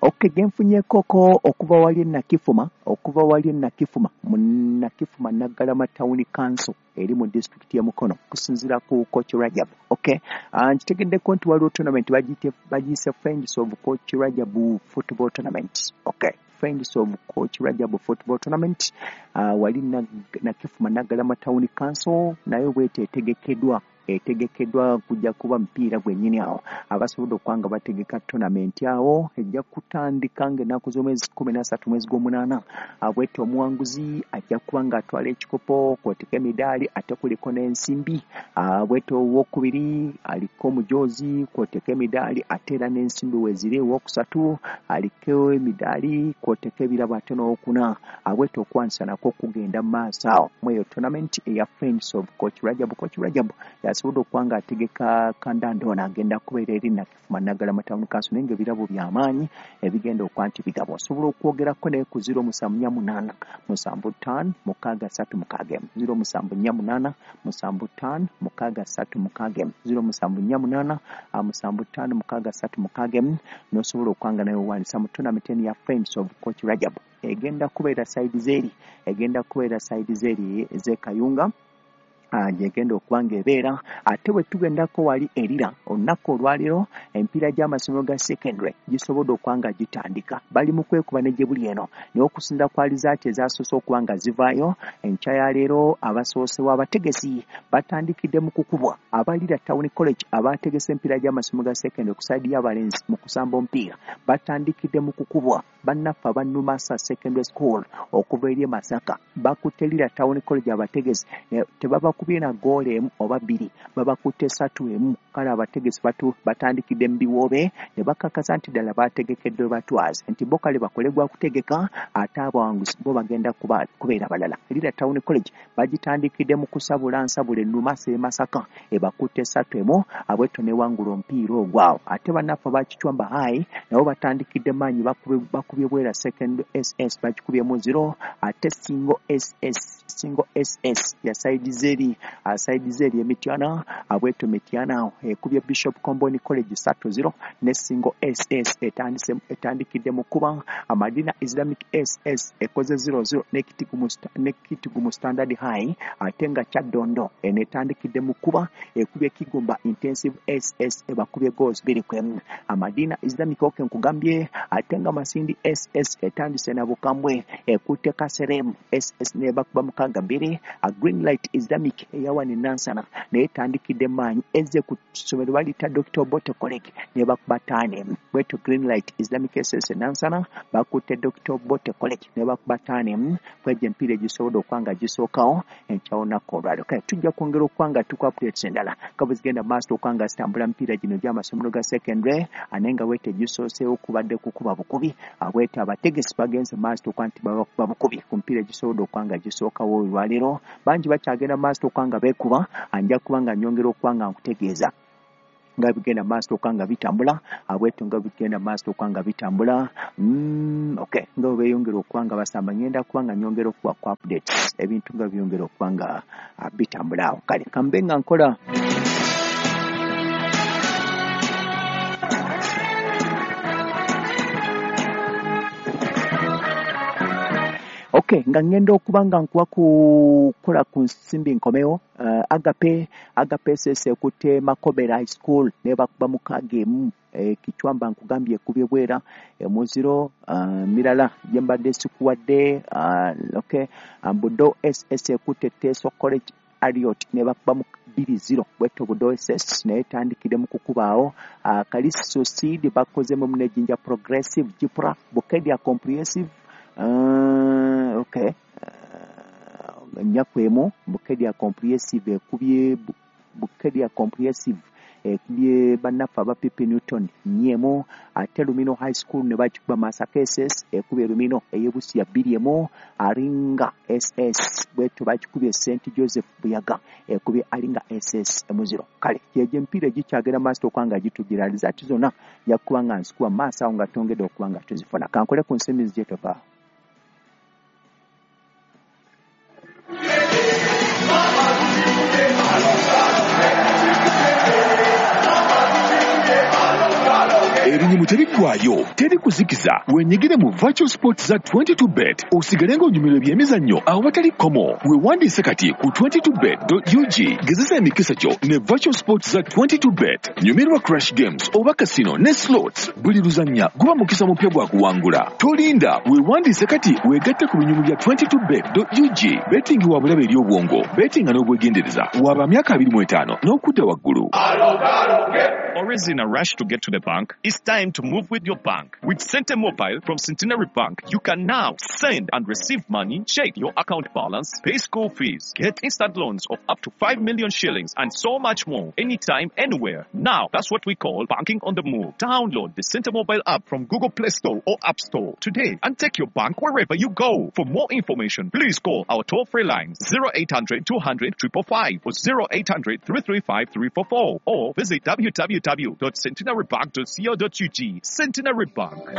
Okay, genfunyeekoko okuva wali Nakifuma, okuva wali Nakifuma, mu Nakifuma Naggalama Town Council eri mu disitulikiti y'e Mukono okusinziira ku Coach Rajab. Okay, nkitegeddeko nti waliwo tournament bagiyise Friends of Coach Rajab Football Tournament. Okay, Friends of Coach Rajab Football Tournament wali Nakifuma Naggalama Town Council, nayo bwete etegekeddwa etegekeddwa kujja kuba mupiira gwennyini awo. Abasobodde okuba nga bategeka tournament awo ejja kutandika ng'ennaku z'omwezi 13 mwezi gw'omunaana. Bwetyo omuwanguzi ajja kuba ng'atwala ekikopo kw'oteeka emidaali ate kuliko n'ensimbi. Bwetyo owookubiri aliko omujoozi kw'oteeka emidaali ate era n'ensimbi weeziri. Owookusatu aliko emidaali kw'oteeka ebirabo ate n'owookuna. Bwetyo okwanisa nakwo kugenda mu maaso awo mu eyo tournament eya Friends of Coach Rajab. Coach Rajab yasobodde okuba ng'ategeka kandanda ono agenda kubeera eri Nakifuma Naggalama Town Council, naye ng'ebirabo by'amaanyi ebigenda okuba nti bigabwa. Osobola okwogerako naye ku 0748 75 636 0748 75 636 0748 75 636 n'osobola okuba nga naye owandiisa mu tournament eno ya Friends of Coach Rajab. Egenda kubeera side z'eri, egenda kubeera side z'eri ez'e Kayunga gyegenda okuba ng'ebeera. Ate bwe tugendako wali erira olunaku olwaleero emipiira gy'amasomero ga secondary gisobodde okuba nga gitandika, bali mu kwekuba ne gye buli eno, naye okusinziira ku alizaati ezasoose okuba nga zivaayo enkya ya leero, abasoosewo abategesi batandikidde mu kukubwa abalira Town College abategese emipiira gy'amasomero ga secondary ku side y'abalenzi mu kusamba omupiira batandikidde mu kukubwa bannaffe aba Numasa Secondary School okuva eri e Masaka. Bakutte Lira Town College abategesi tebabakubye na goolo emu oba bbiri, babakutte 3-1. Kale abategesi batandikidde mu biwoobe ne bakakasa nti ddala bategekeddwe batwaze, nti bo kale bakole gwa kutegeka ate abawanguzi bo bagenda kubeera balala. Lira Town College bagitandikidde mu kusabula nsabula Numasa e Masaka ebakutte 3-1, abwetyo newangula omupiira ogwo awo. Ate bannaffe aba Kichwamba High nabo batandikidde maanyi, bakubye Bwera Second SS bagikubyemu 0, ate Singo SS, Singo SS ya side zeri, side zeri Emityana, abwetyo Mityana ekubye Bishop Comboni College 3-0 ne Singo SS etandikidde mu kuba. Amadina Islamic SS ekoze 0-0 ne Kitigumu Standard High, ate nga Kyaddondo eno etandikidde mu kuba ekubye Kigumba Intensive SS ebakubye goals 2-1. Amadina Islamic oke nkugambye, ate nga Masindi SS etandise na bukambwe ekutte Kaserem SS nebakuba 6-2. Green Light Islamic eyawani Nansana naye etandikidde maanyi, ezze ku ssomero baliyita Dr. Obote College nebakuba 5-1. Bwetyo Green Light Islamic SS Nansana bakutte Dr. Obote College nebakuba 5-1. Kwegyo emipiira egisobodde okuba nga gisookawo enkya olunaku olwaleero. Kale tujja kwongera okuba nga tuku updates endala nga bwe zigenda mu maaso okuba nga zitambula mipiira gino gy'amasomero ga secondary, naye nga bwetyo egisooseewo kubadde kukuba bukubi. Bwetyo abategesi bagenze mu maaso okuba nti babakuba bukubi ku mipiira egisobodde okuba nga gisookawo olwaleero. Bangi bakyagenda mu maaso okuba nga beekuba, nja kuba nga nnyongera okuba nga nkutegeeza nga bigenda maaso okuba nga bitambula, bwetyo nga bigenda maaso okuba nga bitambula. Okay, nga bwe beeyongera okuba nga basamba, ngenda kuba nga nnyongera okuwa ku updates ebintu nga byongera okuba nga bitambula awo. Kale kambe nga nkola Okay, nga ngenda okuba nga nkuwa kukola ku nsimbi nkomewo. Agape SS ekutte Makobera High School nebakuba 6-1. Kichwamba nkugambye ekubye Bwera 0. Mirala gye mbadde sikuwadde. Okay, Budo SS ekutte Teso College Ariot nebakuba mu 2-0. Bwetyo Budo SS naye etandikidde mu kukubaawo. Kaliso Seed bakozemu ne Jinja Progressive, Jipra Bukedia Comprehensive. Okay, 4-1 Bukedia Comprehensive ekubye Bukedia Comprehensive ekubye bannaffe aba PP Newton 4-1. Ate Lumino High School ne bakikuba Masaka SS ekubye Lumino ey'Ebusia 2-1. Aringa SS bwetyo bakikubye St Joseph Buyaga ekubye Aringa SS 0. Kale gyegyo emipiira egikyagenda maaso okuba nga gitugira alizaati zonna nja kuba nga nzikuba maaso awo nga twongedde okuba nga tuzifuna. Kankole ku nsimbi nzije tovaawo. Erinnya Ebinyumu tebiggwaayo, teri kuzikiza. Wenyigire mu virtual sports za 22bet osigale ng'onyumirwa ebyemizannyo awatali kkomo. Weewandiise kati ku 22bet.ug. Gezesa emikisa gyo ne virtual sports za 22bet. Nyumirwa crash games oba casino ne slots. Buli luzannya guba mukisa mupya gwa kuwangula. Tolinda, weewandiise kati weegatte ku binyumu bya 22bet.ug. Betting wa bulabe eri obwongo, bettinga n'obwegendereza. Waba myaka 25 n'okudda waggulu. Always in a rush to get to the bank? It's time to move with your bank. With Sente Mobile from Centenary Bank, you can now send and receive money, check your account balance, pay school fees, get instant loans of up to 5 million shillings, and so much more, anytime, anywhere. Now, that's what we call banking on the move. Download the Sente Mobile app from Google Play Store or App Store today and take your bank wherever you go. For more information, please call our toll-free lines 0800 200 555 or 0800 335 344 or visit www.centenarybank.co.ug. Centenary Bank.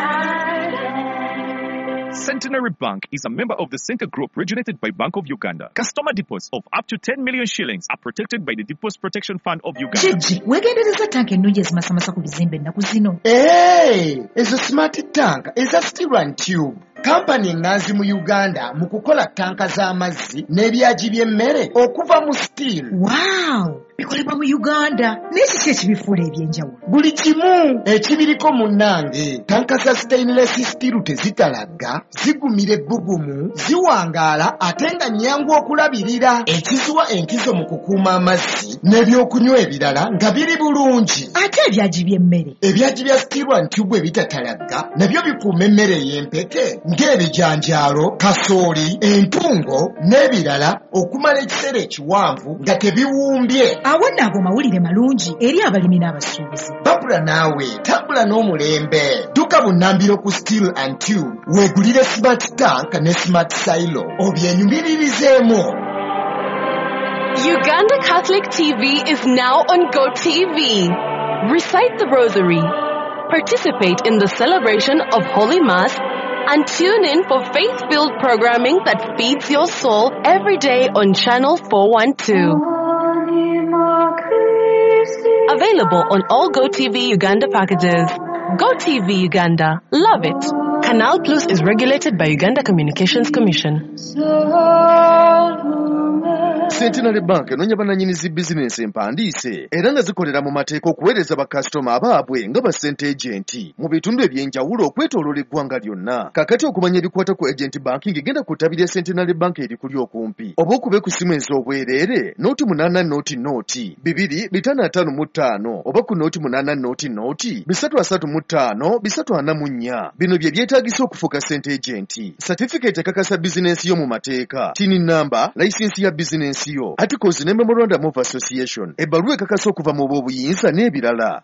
Centenary Bank is a member of the Center Group regulated by Bank of Uganda. Customer deposits of up to 10 million shillings are protected by the Deposit Protection Fund of Uganda. Kiki weegendereza tanka ennungi ezimasamasa ku bizimbe ennaku zino? Hey, ezo smart tank eza Steel and Tube, kampani eŋŋanzi mu Uganda mu kukola tanka z'amazzi n'ebyagi by'emmere okuva mu steel. Wow, bikolebwa mu Uganda, naye kiki ekibifuula ebyenjawulo? Buli kimu ekibiriko munnange. Tanka za stainless steel tezitalagga, zigumira ebbugumu, ziwangaala ate nga nnyangu okulabirira, ekiziwa enkizo mu kukuuma amazzi n'ebyokunywa ebirala nga biri bulungi. Ate ebyagi by'emmere? Ebyagi bya Steel and Tube ebitatalagga nabyo bikuuma emmere ey'empeke ng'ebijanjaalo, kasooli, entungo n'ebirala okumala ekiseera ekiwanvu nga tebiwumbye. Awo nno ago mawulire malungi eri abalimi n'abasuubuzi. Babula naawe tambula n'omulembe. Dduka bunnambiro ku Steel and Tube weegulire smart tank ne smart silo obyenyumiririzeemu. Uganda Catholic TV is now on GoTV. Recite the Rosary, participate in the celebration of Holy Mass, and tune in for faith-filled programming that feeds your soul every day on Channel 412. Available on all GoTV Uganda packages. GoTV Uganda. Love it. Canal Plus is regulated by Uganda Communications Commission. Centenary Bank enoonya bannannyini zi bizinensi empandiise era nga zikolera mu mateeka okuweereza bakasitoma abaabwe nga ba sente agent mu bitundu eby'enjawulo okwetooloola eggwanga lyonna. Kaakati okumanya ebikwata ku agent banking, genda ku ttabi lya Centenary Bank erikuli okumpi oba okube ku ssimu ez'obwereere 080 00 255 oba ku 080 00 335 344. Bino bye byetaagisa okufuuka sente agent: certificate ekakasa bizinensi yo mu mateeka, TIN number, layisinsi ya bizinensi yo, articles ne memorandum of association, ebbaluwa ekakasa okuva mu b'obuyinza n'ebirala.